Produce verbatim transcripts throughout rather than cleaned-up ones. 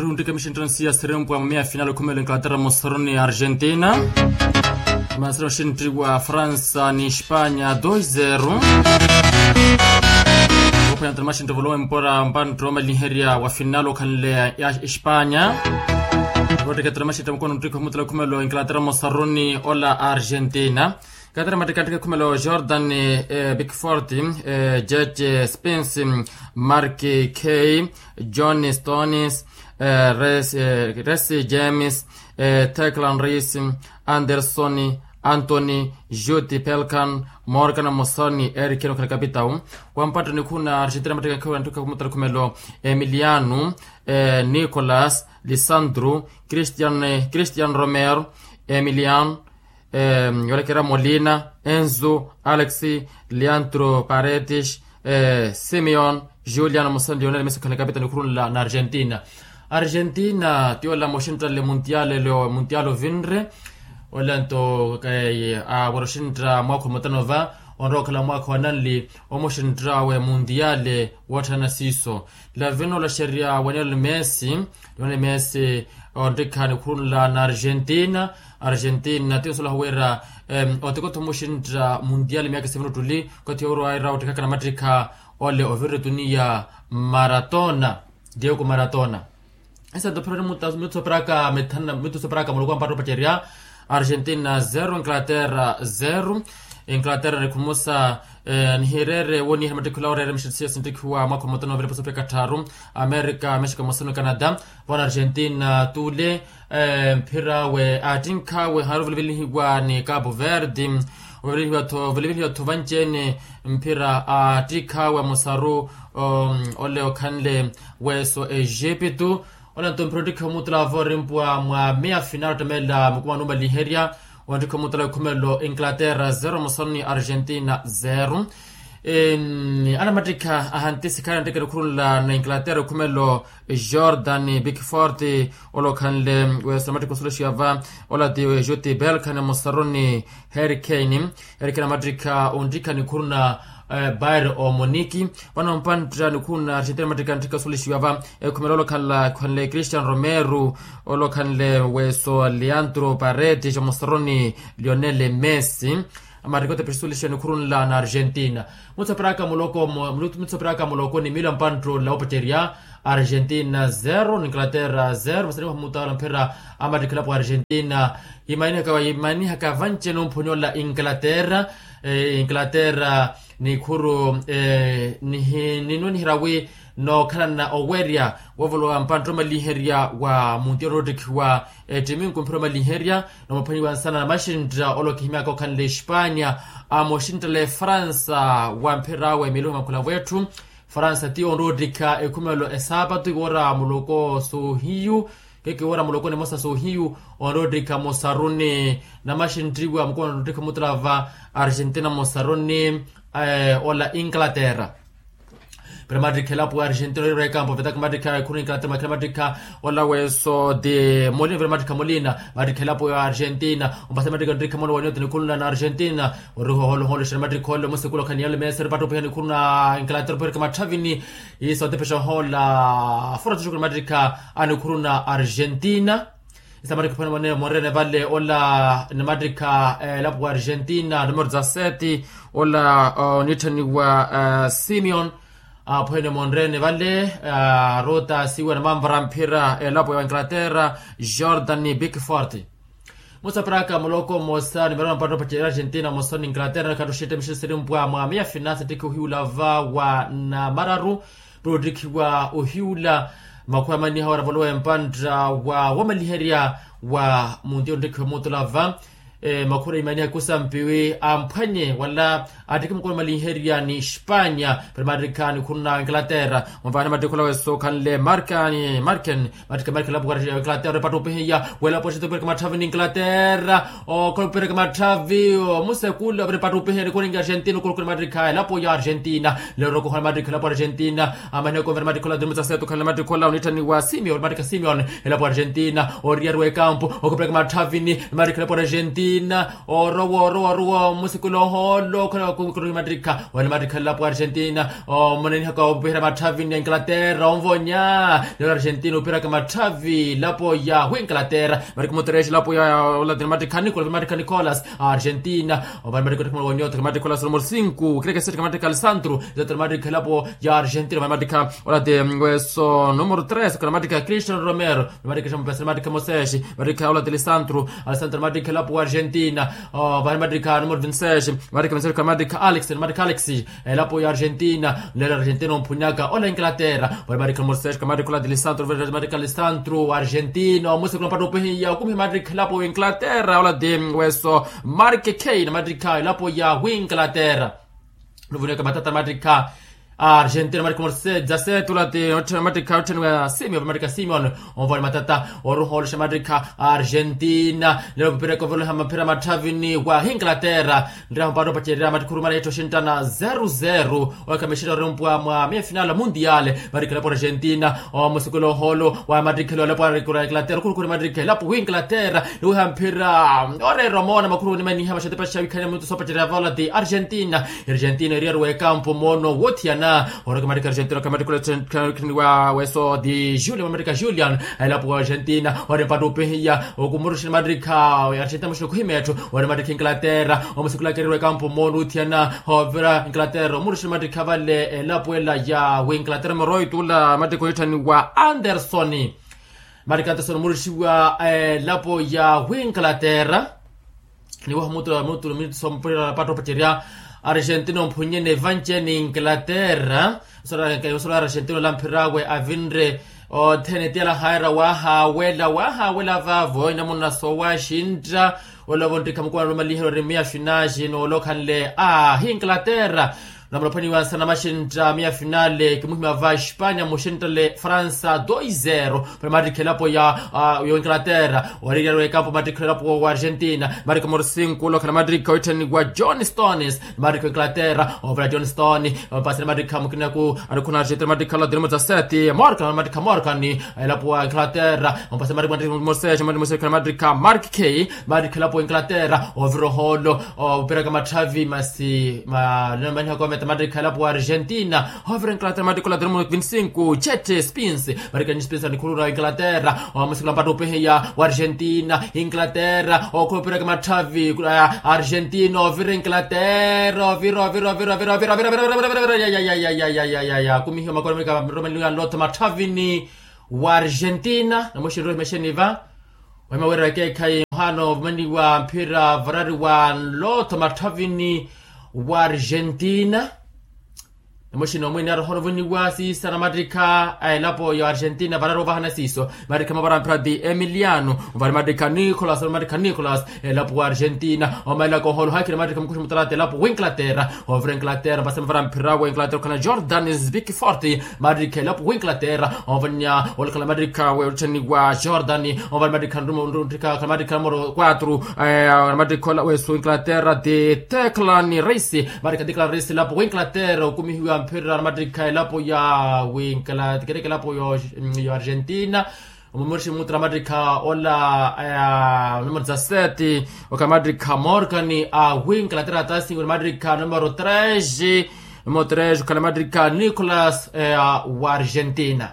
Nttike mixinttano siya sirimpwa mwa meya final okhumela inglaterra mosaruni argentina. Mansira oxintti wa fransa ni espanya dos zero. Ophwanya ntana maxintti ovolowempora mpantta omalinherya wa final okhanle ya espanya. Otteke ntana maxintti mukona nttikha omutela okhumela inglaterra mosaruni ola argentina. Katera mattikha nttikha ekhumelo jordan, pikfort, jeje spence, mark, kay, john stones, resi james, teclan ris, anderson, anthony, juti pelkan, morgan mosoni erikeni okhala kapitau. Wampatta nikhuna argentina mattikha ekhumelo nttikha ekhumelo emiliano, nicolas, lisandro, christian romero, emiliano, yoolekera molina, enzo, alex, leandro paredes, simeon, julian mosoni lionel messi okhala kapitani okhurunla na argentina. Argentina ti ola mooxintale muntiale leo muntiale ovinre. Ola nto awara oxintta mwaakha omutanova, onrowa okhala mwaakha wa nanli omuxinttawe muntiale wootthana siiso. Lavino olaxerya wa lionel messi, lionel messi onttikha nikhurunla na argentina. Argentina ti osolaha wira otikotho muxintta muntiale miyaka sivino ttuli koti owira ottikhaka na mattikha ole ovirre tuniya maratona, diego maratona. Esanto phironi mittu sooperaka mitthana mittu sooperaka muloko ampatta opacerya. Argentina zero inglaterra zero. Inglaterra nikhumusa nihireere woniha na mattikhi ola oreere mixitisiya sinttikhiwa mwaakha omutano ovira pasopeka tthaaru, amerika mexika mosoni canada. Vona argentina tule mphir'awe aattinkhawe haari ovilivelihiwa ni capo verde. Ovilivelihiwa-tho vanci-ene mphira aattikh'awe amosaru ole okhanle weso egipto. Ola nto mphira onttikha omutula voorimpuwa mwa meya final ottemelela mukumano omalinherya. Onttikha omutula ekhumelo inglaterra zero mosoni argentina zero. Anamattikha ahantisi khaari anttikira okhurunla na inglaterra ekhumelo jordan bikfort, ola okhanle weso namattikha osolexiyava ola ti juti belkan mosaruni. Harry kane, harry kane amattikha onttikha nikhuruna bayer omoniki. Vano mpantta nikhuruna argentina amattikha nttikha osolexiyava ekhumelo ola okhanle christian romero, ola okhanle weso leandro paredes mosaruni lionel messi. Amarikota pexisulixa nikhurunla na argentina. Mutsoperaka muloko mutsoperaka muloko ni mila mpanttoola opacerya. Argentina zero ni inglaterra zero masaniwa mutaala mphira. Amattikha elapo argentina imanihaka vanci-ene omphunyola inglaterra. Inglaterra nikhuru ninwe nihira wi nookhalana owerya wovolowa mpantta omalinherya wa muntiya onoottikhiwa ettiminku mphira omalinherya. Nomaphwanyiwa nsana na maxintta ole okihimyaka okhanle espanya. Amoxinttale fransa wa mphir'awe miiluha makhula vwetthu. Fransa ti onroottikha ekhumelo esaapatu iwoora muloko soohiyu. Keke iwoora muloko nimosa soohiyu onroottikha mosaruni. Namaxinttiwa mukuma onroottikha mutula va argentina mosaruni ola inglaterra. Pero mattikha elapo ya argentina orirwa ekampo vetaka mattikha ekhuru inglaterra makhela mattikha ola weso ti molina pero mattikha molina. Mattikha elapo ya argentina ompasa mattikha nttikha mono wa nyota nikhurunla na argentina. Oriho oholohoolo xera mattikha ole omusekula okhaniyale mesa eripattupiha nikhuru na inglaterra ophwereke matthavini. Iso otepexa ohoola fura tuxukuru mattikha anikhuru na argentina. Isa mattikha ophwene monrene vale ola ni mattikha elapo wa argentina numero dezasete. Ola onitthaniwa simeon aphwene monrene vale. Ruta siwa na manvara mphira elapo ya inglaterra jordan bikfort. Musaparaka muloko mmosa numero mapatta opacerya argentina mmosa ni inglaterra nikhatta oxitta mixisirimpwa mwa meya finance ttikhi ohiwula va wa namararu. Puro ttikhiwa ohiwula makhuwa manniha wara volowa empantta wa wamaliherya wa munti onttikhiwa muutula va. Makhura imanihaka osampiwi amphwanye wala attikhi mukulu malinherya ni espanya. Pero mattikha nikhuru na inglaterra. Mumvaani mattikhi ola weso okhanle markani marken mattikha markeni elapo ya inglaterra epatta opihiya welapo ya argentina opireke matthavi ni inglaterra. Okhala opireke matthavi omusekula opireke matthavi opihiya nikhuringi argentina okhulukhu ni mattikha elapo ya argentina. Lero okhala mattikha elapo ya argentina. Amahina okonvera mattikha ola tunimutsaseta okhanle mattikha ola onitthaniwa simeon mattikha simeon elapo ya argentina. Oriyariwa ekampu okhupireke matthavini mattikha elapo ya argentina. Orowa orowa orowa musiku lohoolo okhala kukuruhi matrikha wale matrikha elapo argentina. Omonenihaka opiherya matthavini ya inglaterra onvonya. Lelo argentina opiheraka matthavi elapo ya inglaterra. Matrikha mutereshi elapo ya olatini matrikha nicolas matrikha nicolas argentina. Ovale matrikha othikha matrikha nicolas numero sinku kireke sete kamatrikha alessandro. Zetero matrikha elapo ya argentina ovale matrikha olati weso numero tres kamatrikha cristiano romero. Matrikha mapesere matrikha moseshi matrikha olati alessandro. Alessandro matrikha elapo wa argentina. Vale matrikha numero vinseshi matrikha vinseshi kamatrikha alex matrikha alex. Elapo ya argentina lelo argentina omphunyaka ola inglaterra. Vale matrikha numero seshi kamatrikha olati alessandro vale matrikha alessandro wa argentina omusi kuna mpatto opihiya okumiha matrikha elapo wa inglaterra olati weso mark kane matrikha elapo ya inglaterra. Nuvuneka matata matrikha a argentina matrikha morse dzasetu lati matrikha ottheniwa simeon matrikha simeon. Onvani matata oruha oluxa matrikha a argentina lelo mupira koveloha maphira matthavini wa inglaterra. Nreha mpatto opacerya matrikha orumana yetthi oxinttana zero zero. Okamixira orumpwa mwa meya final mundial matrikha elapo argentina omusikula ohoolo wa matrikha elapo arikura inglaterra okhurukuri matrikha elapo inglaterra. Niwiha mphira oreera omoona makhuru onimaniha maxatepa xawikhanya mutu soopacerya vaolati argentina. Argentina eriyari wekampu moono wothiyana. Oraka matrikha argentina kamatrikha khiniwa weso di julian matrikha julian elapo wa argentina. Ori mpatto opihiya okumuruxini matrikha argentina muxini okhuhima etthu. Ori matrikha inglaterra omusikulaka eriyari wekampu moono wothiyana. Ovira inglaterra omuruxini matrikha vale elapo ela ya inglaterra numero oito ula matrikha onitthaniwa anderson. Matrikha anderson omuruxiwa elapo ya inglaterra. Niwaha mutula mutula minutu sompurira patta opacerya argentina omphunyene evancheni inglaterra. Osolo argentina olamphirawe avinre othene tiyala haira wahawela wahawela vavo inamuna sowaxintta. Olova onttikha mukuna lumaliheryo ori miya finale noolokhanle a inglaterra. Namulaphaniwa nsana maxintta miya finale kimuhima va espanya muxinttale fransa doi zero. Pale matrikha elapo ya inglaterra. Wariryari wekampo matrikha elapo wa argentina matrikha morsinko olokhala matrikha oitthaniwa john stones. Matrikha inglaterra ovela john stone. Pasire matrikha mukinaku arikhuna argentina matrikha la dilimo dza sete morkan matrikha morkan. Elapo wa inglaterra ompasire matrikha matrikha mosese matrikha matrikha mark k. Matrikha elapo wa inglaterra ovira ohoolo. Opiraka matthavi masi manihaka ometa matrikha elapo wa argentina. Ovira inglaterra matrikha la dilimo vinti cinco chete spins. Matrikha ni spins anikhulura inglaterra omusikula mpatto opihiya wa argentina inglaterra okhupiraka matthavi. Argentina ovira inglaterra ovira ovira ovira ovira ovira ovira. Kumihiwa makolo amerika romaniwa lotha matthavini wa argentina namuxinre ohimexeni va. Ohima wira ekeekhayi muhano ovumaniwa mphira varari wa lotha matthavini wa argentina. Namuxina omwene aroha onovuniwa siisa na mattikha a elapo ya argentina varari ovahana siiso. Mattikha mavara mphira ti emiliano ovale mattikha nicolas ovale mattikha nicolas. Elapo wa argentina omaelaka oholoha ekhina mattikha mukuxi mutalata elapo wa inglaterra. Ovira inglaterra mpasema vara mphira wa inglaterra okhana jordan zbik forte. Mattikha elapo wa inglaterra ovanya olakhala mattikha wetteni wa jordan. Ovale mattikha nrumo nttikha khala mattikha numero quatro mattikha ola wesu inglaterra ti teclan race. Mattikha teclan race elapo wa inglaterra okumihiwa mphira na mattikha elapo ya wingla tikereke elapo yo argentina. Omumurixi mutula mattikha ola numero dza sete okhala mattikha morgan a wingla tera tasingo na mattikha numero tres. Numero tres okhala mattikha nicolas wa argentina.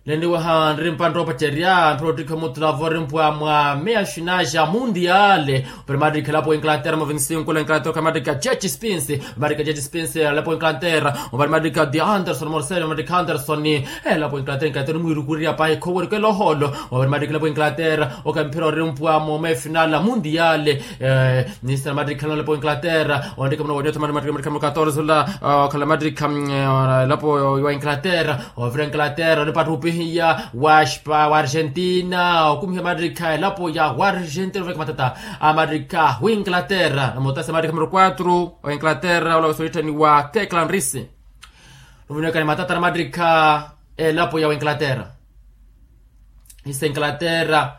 Leniwaha nri mpantta opacerya mphira ottikha mutula vo rimpwa mwa meya xinaxa mundiale. Opari mattikha elapo wa inglaterra mo vinti cinco la inglaterra okhala mattikha jeci spins. Mattikha jeci spins elapo wa inglaterra opari mattikha di anderson morcel mattikha anderson. Elapo wa inglaterra inglaterra onimwirukurerya pahi khowerikela ohoolo. Opari mattikha elapo wa inglaterra okhala mphira orimpwa mo meya final mundiale. Nisitela mattikha elapo wa inglaterra onttikha muno wanyotha mattikha muno katorze ola okhala mattikha elapo wa inglaterra. Ovira inglaterra onipatta opihiya wa argentina okumiha mattikha elapo ya wa argentina oveka matata a mattikha wa inglaterra namutasi mattikha numero quatro wa inglaterra ola wesolittani wa teclan race. Ovinekani matata na mattikha elapo ya wa inglaterra. Isa inglaterra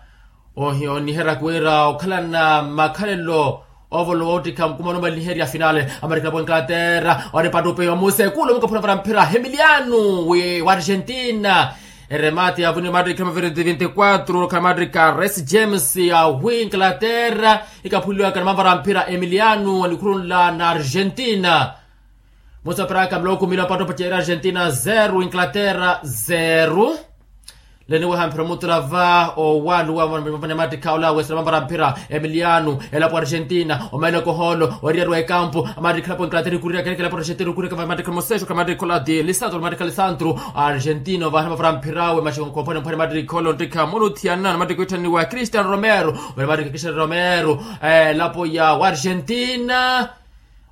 oniheraka wira okhalana makhalelo ovolowa ottikha mukuma onomaliherya finale. Amarikha elapo wa inglaterra onipatta opihiya wa musekulu omukaphuna vara mphira hemiliano wa argentina. Eremate ya vuni matrika maviriti vinti kwatru khala matrika resi james ya wi inglaterra ikaphuliwaka na mavara mphira emiliano anikhurunla na argentina. Musa paraka mloko mila pato pachera argentina zero inglaterra zero. Leni weha mphira mutula va owaluwa mavane matrika ola wesela mavara mphira emiliano elapo argentina omaile koholo oriya rwa ekampu. Amatrika elapo inglaterra ikurira kelekela po argentina ikurira kava matrika mosesho kamatrika ola di lisandro matrika lisandro. Argentina ovahela mavara mphirawe mashiko nkompone mphone matrika ola ontrika muluthiyana na matrika itthaniwa cristiano romero. Mene matrika cristiano romero elapo ya wa argentina.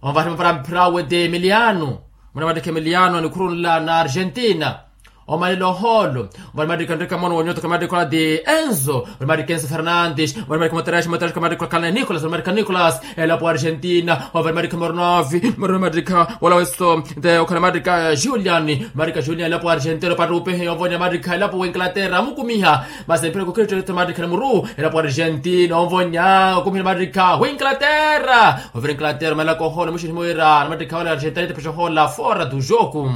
Omvahela mavara mphirawe ti emiliano. Mene matrika emiliano anikhurunla na argentina. Omalelo oholo. Mvale matrika nrika mono wonyota kamatrika ola ti enzo mvale matrika enzo fernandes mvale matrika moteresh moteresh kamatrika ola khalana nicolas mvale matrika nicolas elapo argentina. Mvale matrika mornovi mvale matrika wala weso te okhala matrika julian. Matrika julian elapo argentina opattupehe yonvonya matrika elapo wa inglaterra amukumiha. Masi empira kukiritoto matrika ni muru elapo argentina onvonya okumihela matrika wa inglaterra. Ovira inglaterra omalelaka oholo mushini himwira na matrika wala argentina itepesha ohola fora du joku.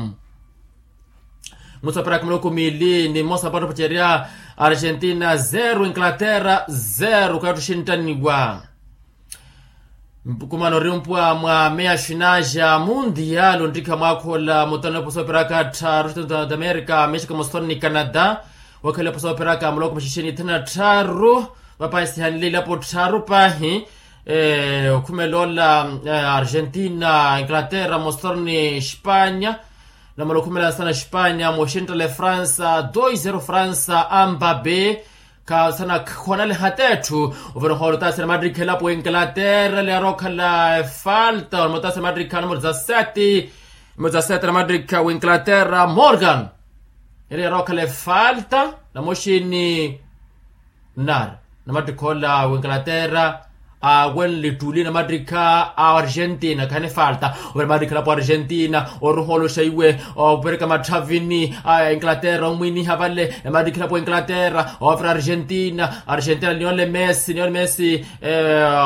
Musa paraka miloko miili ni mmosa pattopaceriya argentina zero inglaterra zero kaya ottuxintaniwa. Mpukumano ori mpwa mwa meya xinaxa mundial ontrikha mwaakhola mutano eposa operaka attharu xitano d'amerika mexika moston ni canada. Wakhala eposa operaka muloko maxixeni ithanu attharu. Vapahi sihanile ilapo attharu pahi. Okhumela ola argentina inglaterra moston ni espanya. Namala okhumela sana espanya moxentale fransa dois zero fransa ambabe. Khasana khonale hatetthu. Ovira ohoolo otasira matrikha elapo wa inglaterra liyarokhala efalta onamotasa matrikha numero dezasete. Numero dezasete na matrikha wa inglaterra morgan. Eri yarokhala efalta namoxini. Nari na matrikha ola wa inglaterra awenle ettuli na matrikha a argentina khani falta. Ovira matrikha elapo argentina oruha oloxa iwe opereka matthavini a inglaterra omwiniha vale. Matrikha elapo inglaterra ovira argentina argentina niyonle messi niyonle messi.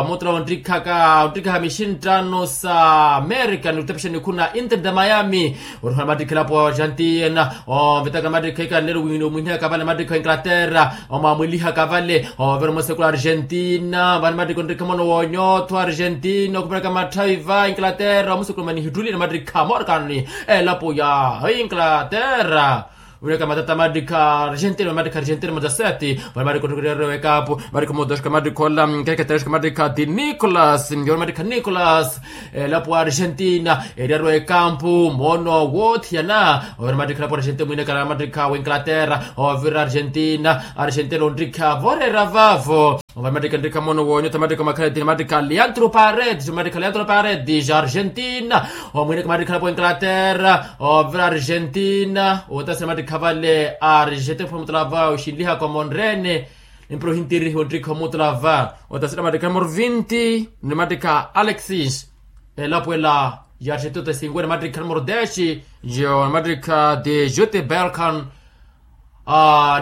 Mutula ontrikhaka ontrikhaha mixinttano sa america nitepexeni khuna inter de miami. Oruha na matrikha elapo argentina ovitaka matrikha ikanlelo wini omwinihaka vale matrikha inglaterra. Omwamwilihaka vale ovira omusekulu argentina vani mattiko nrikha mono wonyotho argentina okhuperaka matthavi va inglaterra omusekulu mani hittulile mattiko morgan elapo ya inglaterra. Wuleka matata mattiko argentina mattiko argentina mozaseti vani mattiko nrikha rero ekapu mattiko modoxka mattiko ola nkeketerexka mattiko di nicolas yona mattiko nicolas. Elapo argentina eriyarwa ekampu mono wothiyana ovira mattiko elapo argentina mwinekala mattiko wa inglaterra ovira argentina argentina ontrikha vorera vavo. Ovira mattiko nrikha mono wonyota mattiko makhaleti mattiko leandro paredes mattiko leandro paredes argentina. Omwineka mattiko elapo inglaterra ovira argentina otasira mattiko vale argentina phomutala va oxinlihaka omonrene. Empira ohintirihi ontrikha omutula va otasira mattiko numero vinti ni mattiko alexis. Elapo ela ya argentina otasinguwe ni mattiko numero dez yo ni mattiko de jute belkan.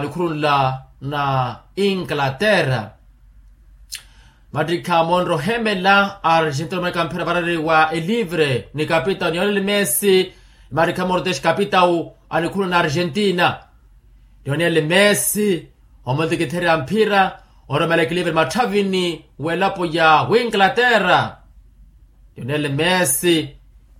Nikhurunla na inglaterra mattiko monro ohemela argentina omanika mphira varari wa elivre ni kapitao niyonele messi. Mattiko numero dez kapitao anikhurunla na argentina. Lionel messi omutikitherya mphira oromelekelive mmatthavini w'elapo ya winglaterra. Lionel messi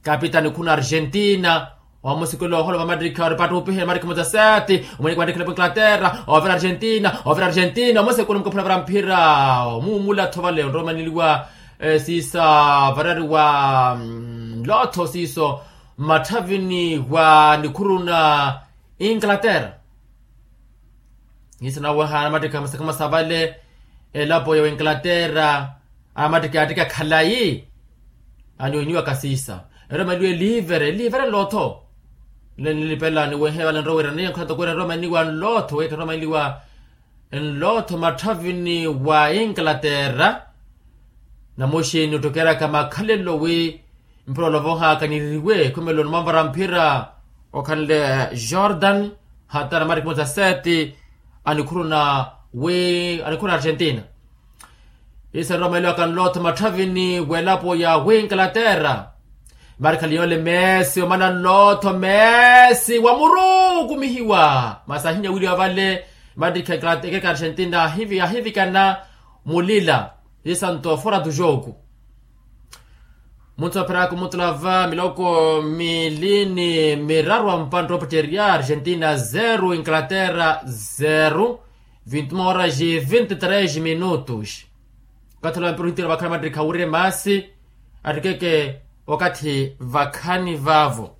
kapitani khuna argentina omusikula oholova matrikha oripattupihe matrikha muzaseti omwiniki matrikha elapo inglaterra ovira argentina ovira argentina omusikula omukaphula vara mphira omuumula tho vale onromaniliwa. Siisa varari wa nlotho siiso mmatthavini wa nikhuruna inglaterra. Hiisa naweha anamattikha masakha masa vale elapo ya winglaterra anamattikha yattikha khalayi. Aniweniwaka siisa eromaniwa elivere elivere nlotho. Nilipela niwehe vale nrowerani nkhoto kwira eromaniwa nlotho weka eromaniwa nlotho mmatthavini wa inglaterra. Namuxini ottokeraka makhalelo wi mpira olovohaka niririwe khumelo numamvara mphira okhanle jordan hata na mattiko muzaseti anikhuruna wi anikhuruna argentina. Isa nromaeliwaka nlotho mmatthavini w'elapo ya winglaterra. Marikha liyole messi omana nlotho messi wa muru okumihiwa masi ahinya wiriwa vale. Marikha ekereka argentina ahivikana mulila. Isanto fora tu joku. Munthu apheraka omutulava miloko mili ni miraru a mpantta opetteriya argentina zero inglaterra zero. Vinti uma horas e vinti tres minutos. Okathi ola mpira ohitira vakhala mattikha awirye masi attikeke okathi vakhani vavo.